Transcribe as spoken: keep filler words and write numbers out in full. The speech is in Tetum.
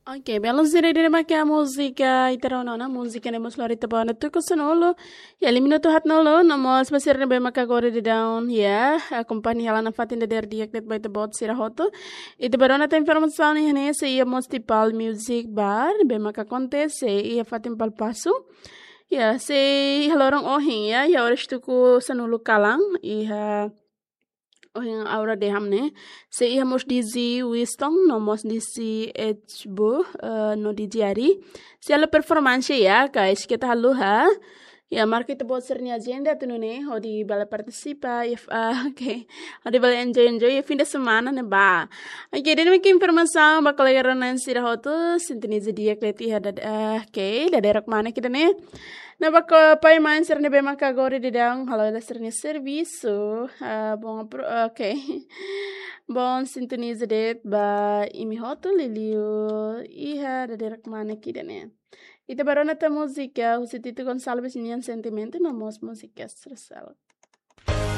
Ok, belun sira, ida-ne'e mak múzika ita rona ona, múzika ne'e mós lori ita ba ona tuku sanulu. Ya, lima minutu haat nulu, no mós ba sira ne'ebé mak agora daudaun, ya, akompaña hela nafatin dadeer di'ak de'it ba ita-boot sira hotu. Ita bá rona tan informasaun iha ne'e, sei iha mós tiha Pal Music Bar, ne'ebé mak akontese iha fatin Pal Pasu. Ya, sei iha loron ohin, ya, iha oras tuku sanulu kalan, iha ohin aura dehan ne'e. Sei iha mós D J Winston, no mós D J H Bu, eh, no D J Ari. Sei halo performance ya, guys, keta haluha. Ya, marka ita-boot sira-nia ajenda atu nune'e, hodi bele partisipa, ya, ah, ok. Hodi bele enjoy, enjoy, ya, fim de semana ne'ebá. Ok, ida-ne'e mak informasaun ba kolega rona sira hotu, sintoniza di'ak de'it iha dad-, ah, ok, dadeer-kmanek ida-ne'e. No ba kolega mane sira ne'ebé mak agora daudaun halo hela sira-nia servisu. Ah, bom, apro-, ok. Bom, sintoniza de'it ba imi hotu liuliu iha dadeer-kmanek ida-ne'e. Ita bá rona tan múzika husi Tito Gonçalves nian Sentimentu, no mós múzika Estrela.